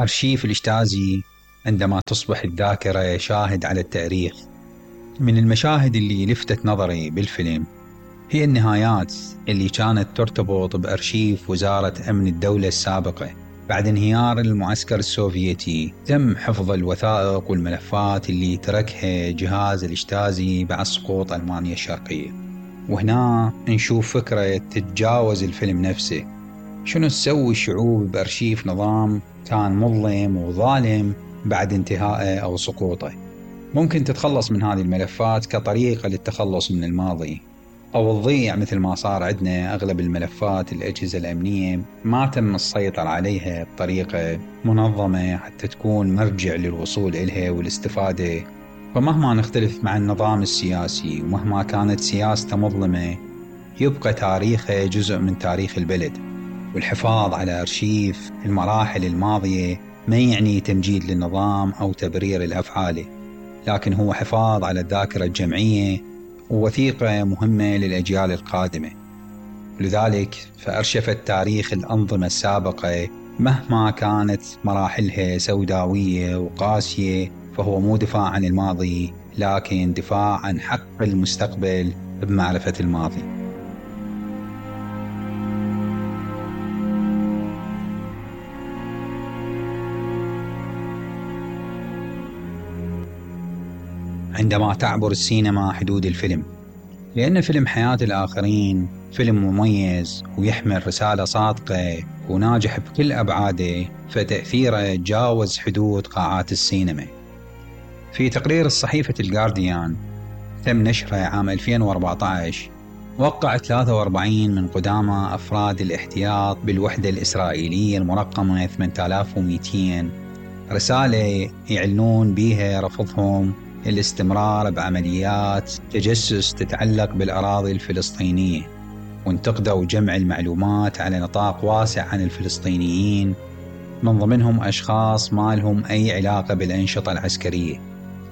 أرشيف الإشتازي عندما تصبح الذاكرة شاهد على التاريخ. من المشاهد اللي لفتت نظري بالفيلم هي النهايات اللي كانت ترتبط بأرشيف وزارة أمن الدولة السابقة. بعد انهيار المعسكر السوفيتي تم حفظ الوثائق والملفات اللي تركها جهاز الإشتازي بعد سقوط ألمانيا الشرقية. وهنا نشوف فكرة تتجاوز الفيلم نفسه، شنو تسوي الشعوب بأرشيف نظام كان مظلم وظالم بعد انتهائه أو سقوطه. ممكن تتخلص من هذه الملفات كطريقة للتخلص من الماضي، أو تضيع مثل ما صار عندنا أغلب الملفات الأجهزة الأمنية ما تم السيطرة عليها بطريقة منظمة حتى تكون مرجع للوصول إليها والاستفادة. فمهما نختلف مع النظام السياسي ومهما كانت سياسته مظلمة، يبقى تاريخه جزء من تاريخ البلد. والحفاظ على أرشيف المراحل الماضية ما يعني تمجيد للنظام أو تبرير الأفعال، لكن هو حفاظ على الذاكرة الجمعية ووثيقة مهمة للأجيال القادمة. لذلك فأرشفت تاريخ الأنظمة السابقة مهما كانت مراحلها سوداوية وقاسية، فهو مو دفاع عن الماضي لكن دفاع عن حق المستقبل بمعرفة الماضي. عندما تعبر السينما حدود الفيلم، لأن فيلم حياة الآخرين فيلم مميز ويحمل رسالة صادقة وناجح بكل أبعاده، فتأثيره تجاوز حدود قاعات السينما. في تقرير الصحيفة الجارديان تم نشره عام 2014، وقع 43 من قدامى أفراد الاحتياط بالوحدة الإسرائيلية المرقمة 8200 رسالة يعلنون بها رفضهم الاستمرار بعمليات تجسس تتعلق بالأراضي الفلسطينية، وانتقدوا جمع المعلومات على نطاق واسع عن الفلسطينيين، من ضمنهم أشخاص ما لهم أي علاقة بالأنشطة العسكرية.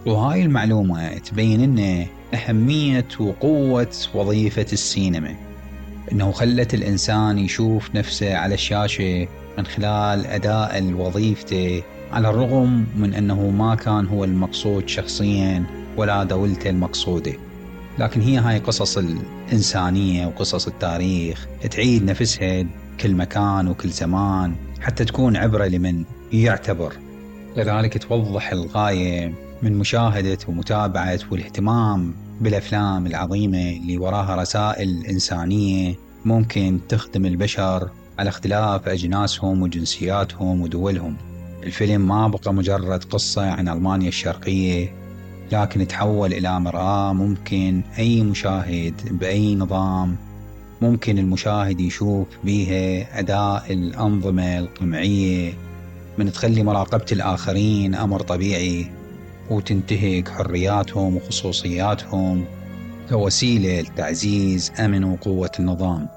وهاي المعلومة تبين لنا أهمية وقوة وظيفة السينما، إنه خلت الإنسان يشوف نفسه على الشاشة من خلال أداء وظيفته، على الرغم من أنه ما كان هو المقصود شخصيا ولا دولته المقصودة. لكن هي هاي قصص الإنسانية وقصص التاريخ تعيد نفسها كل مكان وكل زمان حتى تكون عبرة لمن يعتبر. لذلك توضح الغاية من مشاهدة ومتابعة والاهتمام بالأفلام العظيمة اللي وراها رسائل إنسانية ممكن تخدم البشر على اختلاف أجناسهم وجنسياتهم ودولهم. الفيلم ما بقى مجرد قصة عن ألمانيا الشرقية، لكن تحول إلى مرآة ممكن أي مشاهد بأي نظام ممكن المشاهد يشوف بيها أداء الأنظمة القمعية، من تخلي مراقبة الآخرين أمر طبيعي وتنتهك حرياتهم وخصوصياتهم كوسيلة لتعزيز أمن وقوة النظام.